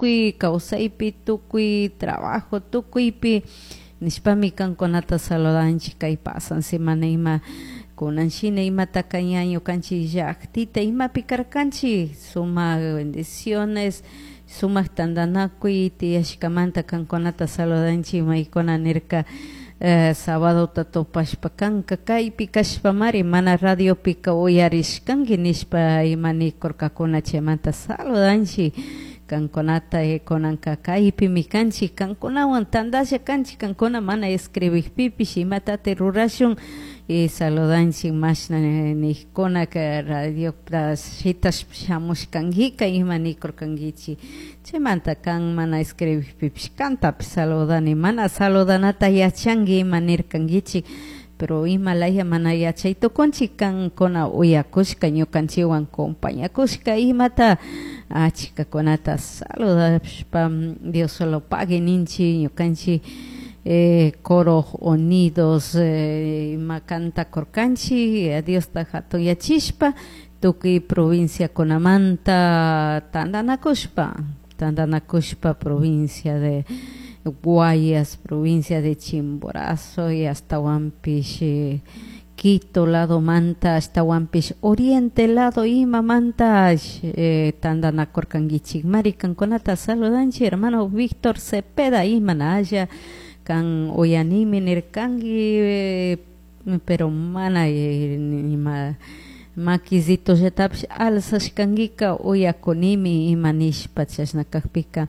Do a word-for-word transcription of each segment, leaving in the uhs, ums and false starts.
Tukuy kawsaypi, tukuy trabajo, tukuypi nishpami kankunata saludanchik. Kay pasan semana ima kunan shina imataka ña ñukanchik llaktita imapi karkanchik, sumak bendiciones, sumak tantanakuy tiyashkamanta kankunata saludanchik. Maykuna nirka eh, sabadota tupashpa kanka kaypi kashpamari mana radiopika uyarishkanki nishpa ima nikurkakuna. Chaymanta saludanchik kankunata. Kunanka kaypimi kanchik, kankunawan tantalla kanchik. Kankuna mana escribikpipish imatati rurashun? Y saludanchik mashna nikkuna radiota shitashpa shamushkankika ima nikurkankichik. Chaymanta kan mana escribikpipish kantapish saludani. Mana saludanata yachanki ima nirkankichik, pero ima laya mana yachay tukunchik. Kankuna uyakushka, ñukanchikwan compañakushka imata achkakunata saludashpa Dios solo pague ninchik. Ñukanchik eh, coro unidos eh, ima cantakurkanchik Diosta hatunyachishpa tukuy provinciakunamanta tantanakushpa tantanakushpa provincia de Guayas, provincia de Chimborazo y hasta eh, Quito lado manta, ashtawanpish Oriente lado imamanta eh, tantanakurkankichik mari. Kankunata saludanchik. Hermano Víctor Cepeda, imana haya kan uyanimi nirkanki, eh, pero mana eh, ima makisitollatapish alzashkankika uyakunimi ima nishpa. Chashna kakpika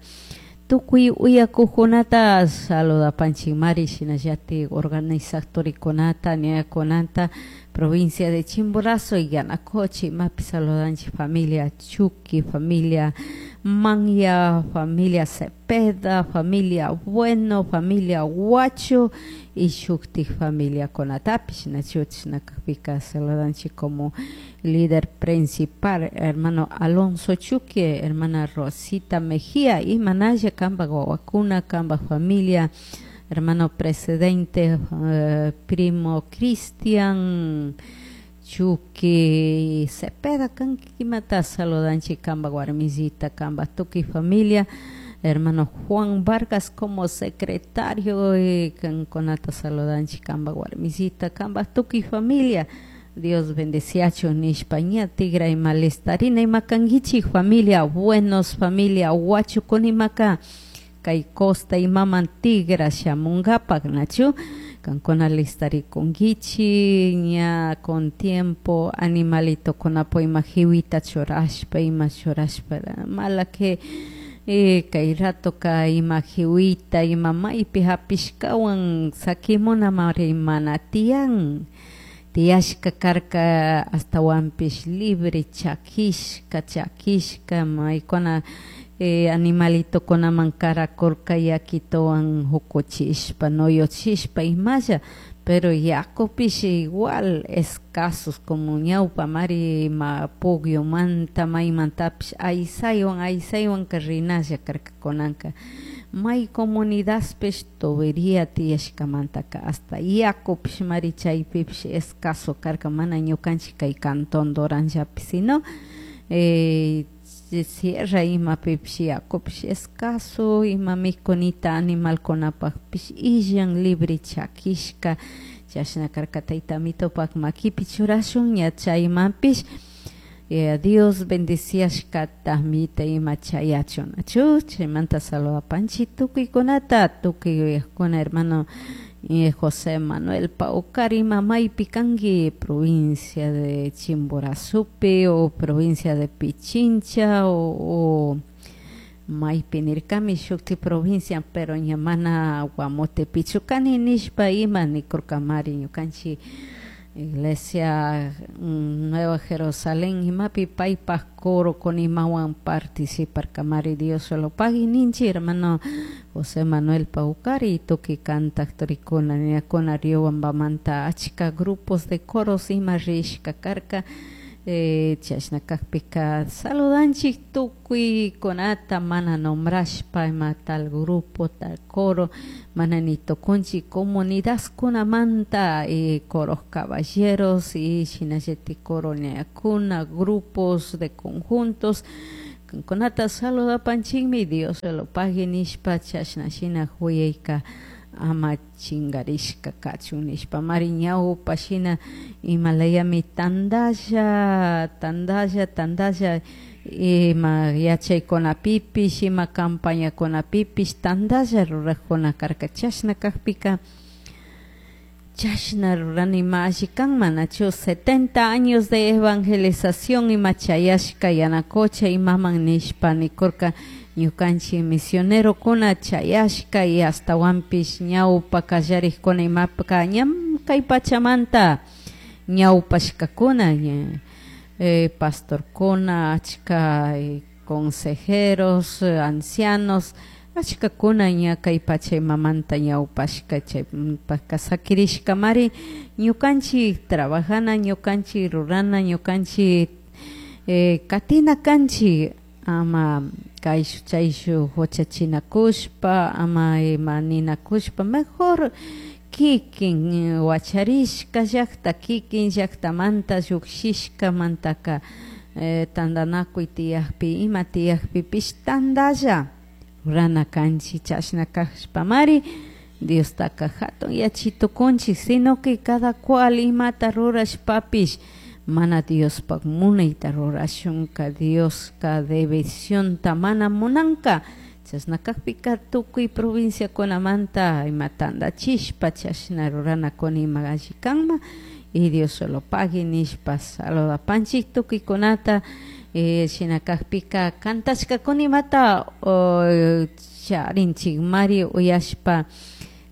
tukuy uyakukunata saludapanchik mari, shinallatik organizatorikunata, ñakunata provincia de Chimborazo y Yanacocha imapi saludanchik. Familia Chuqui, familia Manya, familia Cepeda, familia Bueno, familia Huacho y shuktik familiakunatapish, nachu? Chashna kakpika saludanchik como líder principal hermano Alonso Chuqui, hermana Rosita Mejía, imanalla kanpak wawakuna, kanpak familia, hermano presidente, eh, primo Cristian Chuqui Cepeda, kanki imata saludanchik, kanpak warmisita, kanpak tukuy familia, hermano Juan Vargas como secretario, eh, kankunata saludanchik, kanpak warmisita, kanpak tukuy familia. Dios bendeciachun nishpa ña tigra ima listarina ima kankichik. Familia Buenos, familia Huachukunimaka kay costa imaman tigra shamunkapak, nachu? Kankuna listarikunkichik ña con tiempo animalitokunapo ima jiwita churashpa, ima churashpa. Mala que eh, kay ratoka ima jiwita ima maypi hapishkawan sakimuna mari mana tiyan. Tiyashka karka ashtawanpish libre chakishka chakishka maykuna eh, animalitokunaman karakurka yakituwan hukuchishpa, nuyuchishpa imalla, pero yakupish igual escasos como ñawpa mari ima pugyumanta maymantapish aysaywan aysaywan rinalla karka. Kunanka may comunidadpish tubería tiyashkamantaka hasta yakupish mari chaypipish escaso karka, mana ñukanchik kay cantón Doranllapi, sino eh, sierra imapipish yakupish escaso, ima mikunita animalkunapakpish illan, libre chakishka chashna karka. Tayta Amitopak makipi churashun ña chaymanpish eh, Dios bendiciashkata mita ima chayachun, nachu? Chaymanta saludapanchik tukuykunata, tukuy yuyakuna. Hermano eh, José Manuel Paucar, ima maypi kanki, provincia de Chimborazopi o provincia de Pichincha o, o maypi nirkami shukti provincia, pero ña mana Guamotepichu kani nishpa ima nikurkamari. Ñukanchik iglesia mm, Nueva Jerusalén imapi paypak coro con imawan participarkamari. Dios solo pagui ninchik hermano José Manuel Paucari y tukuy kantak turikuna ñakuna Riobambamanta achka grupos de coros ima rishka karka. eh, chashna kakpika saludanchik tukuykunata mana nombrashpa ima tal grupo, tal coro mana ni tukunchik. Comunidadkunamanta eh, coros caballeros y shinallatik coro ñakuna, grupos de conjuntos. Kankunata saludapanchikmi Dios lo pague nishpa chashna shina huyayka ama chingarishka kachun nishpa mari ñawpa shina imalayami tandalla tandalla tandalla ima yachaykunapipish ima campañakunapipish tandalla rurakuna karka chashna kakpika chashna rurani ima alli kan manachu setenta años de evangelización ima chayashka Yanacocha imaman nishpa nikurka ñukanchik misionerokuna chayashka y ashtawanpish ñawpa kallarikuna imapka ñam kay pachamanta ñawpashkakuna eh, pastorkuna achka eh, consejeros ancianos achkakuna ña kay pacha imamanta ñawpashka chaypaka sakirishkamari ñukanchik trabajana ñukanchik rurana ñukanchik eh, katina kanchik ama kayshu chayshu huchachinakushpa ama ima ninakushpa mejor kikin wacharishka llakta kikin llaktamanta llukshishkamantaka eh, tantanakuy tiyakpi ima tiyakpipish tantalla rurana kanchik chashna kashpamari Diostaka hatun yachitukunchik sino que cada cual imata rurashpapish mana Diospak munayta rurashunka Dioska divisionta mana munanka chashna kakpika tukuy provinciakunamanta ima tantachishpa chashna ruranakuna ima alli kanman y Dios solo pague nishpa saludapanchik tukuykunata eh, shina kakpika kantashkakuna imata charinchik mari uyashpa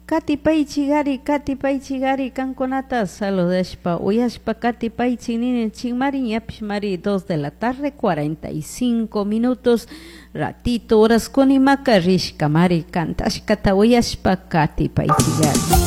katipaychik katipaychik kankunata saludashpa uyashpa katipaychik nini mari ñapish mari dos de la tarde cuarenta y cinco minutos ratito horas kunimaka rishka mari kantashkata uyashpa katipaychik.